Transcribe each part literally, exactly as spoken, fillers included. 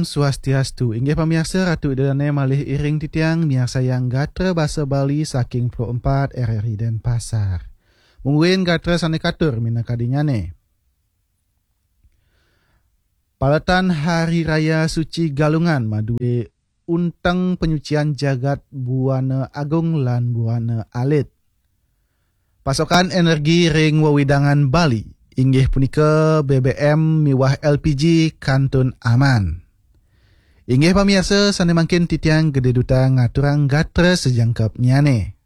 Swastiastu. Inggih pamiarsa, Ratu Ida Dané malih iring titiang miarsayang gatra basa Bali saking Pro empat R R I Denpasar. Mungguing gatra sané katur minakadinyané. Paletan Hari Raya Suci Galungan madué unteng panyucian jagat Buana Agung lan Buana Alit. Pasokan energi ring wewidangan Bali, inggih punika B B M miwah L P G, kantun aman. Inggih pamiarsa, sané mangkin titiang Gedé Duta ngaturang gatra sajangkepnyané.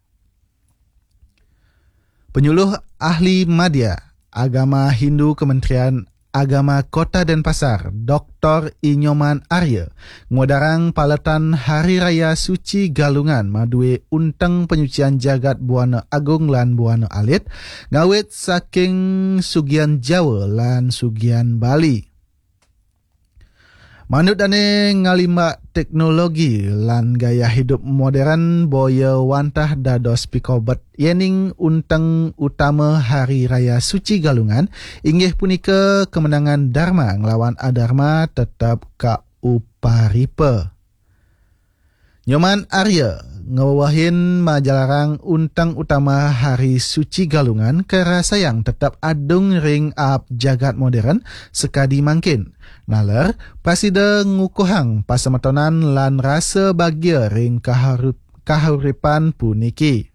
Penyuluh ahli madya agama Hindu Kementerian Agama Kota Denpasar, Doktor I Nyoman Arya, ngwedarang paletan Hari Raya Suci Galungan madué unteng panyucian jagat Buana Agung lan Buana Alit, ngawit saking sugian Jawa lan sugian Bali. Manut dané, ngalimbak teknologi lan gaya hidup modern boya wantah dados pikobet yéning unteng utama Hari Raya Suci Galungan, inggih punika kemenangan Dharma nglawan Adharma tetep kauparipa. Nyoman Arya ngwewehin majalarang unteng utama Hari Suci Galungan karasayang tetep adung ring aab jagat modern sakadi mangkin. Naler, prasida ngukuhang pasemetonan lan rasa bagia ring kaharup-, kahuripan puniki.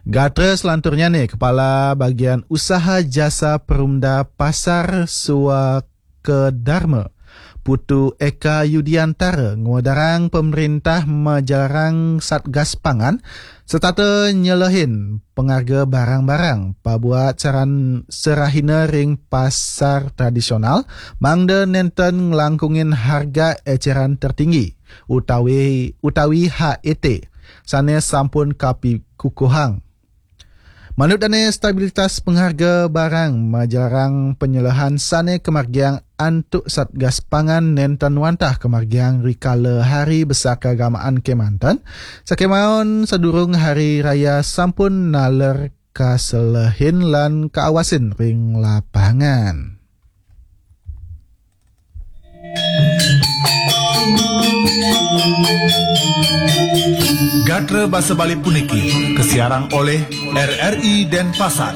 Gatra selanturnyané, Kepala Bagian Usaha Jasa Perumda Pasar Suaka Dharma, Putu Eka Yudiantara, ngwedarang pamréntah majalarang Satgas Pangan setata nyelehin pangarga barang-barang pabuat saran serahina ring pasar tradisional, mangda nénten nglangkungin harga écéran tertinggi utawi, utawi H E T, sané sampun kapikukuhang. Manut dané, stabilitas pangarga barang majalarang panyelehan sané kamargiang antuk Satgas Pangan nénten wantah kamargiang rikala hari besar kaagamaan kémanten, sakémaon sadurung hari raya sampun naler kaselehin lan kaawasin ring lapangan. Gatra basa Bali puniki kasiarang olih R R I Denpasar.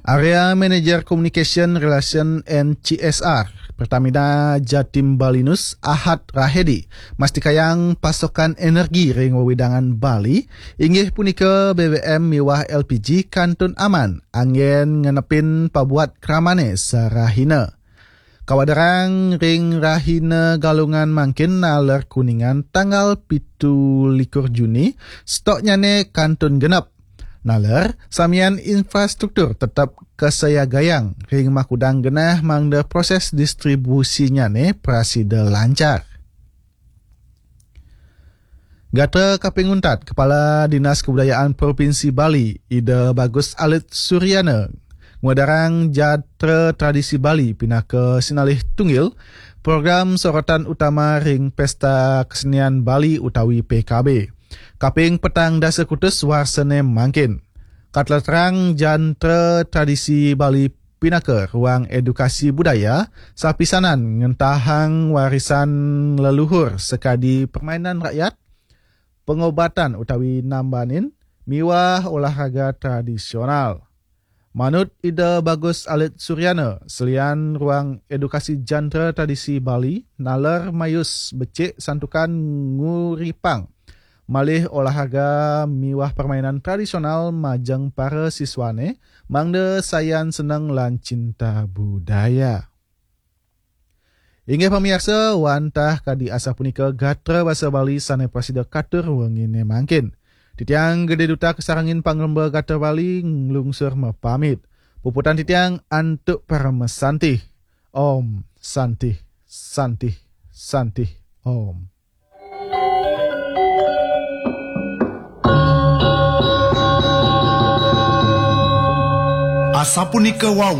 Area Manager Communication Relation and C S R Pertamina Jatim Balinus, Ahad Rahedi, mastikayang pasokan energi ring wewidangan Bali, inggih punika B B M miwah L P G, kantun aman, anggén ngenepin pabuat kramané sarahina. Kawedarang ring rahina Galungan mangkin naler Kuningan tanggal pitu likur Juni, stoknyané kantun genep. Naler, samian infrastruktur tetep kasiagayang ring makudang genah mangda proses distribusinyané prasida lancar. Gatra kaping untat, Kepala Dinas Kebudayaan Provinsi Bali, Ida Bagus Alit Suryana, ngwedarang jatra tradisi Bali pinaka sinalih tunggil program sorotan utama ring Pesta Kesenian Bali utawi P K B, kaping petang dasa kutus warsané mangkin. Katlatarang jatra tradisi Bali pinaka ruang edukasi budaya, sapisanan ngentahang warisan leluhur sakadi permainan rakyat, pangobatan utawi nambanin, miwah olahraga tradisional. Manut Ida Bagus Alit Suryana, selian ruang edukasi jatra tradisi Bali, naler mayus becik santukan nguripang malih olahraga miwah permainan tradisional majeng para siswané, mangda sayan seneng lan cinta budaya. Inggih pamiarsa, wantah kadi asapunika gatra basa Bali sané prasida katur wenginé mangkin. Titiang Gedé Duta kasarengin pangremba gatra Bali nglungsur mapamit. Puputang titiang antuk parama santih. Om Santih, Santih, Santih, Om. Asapunika wau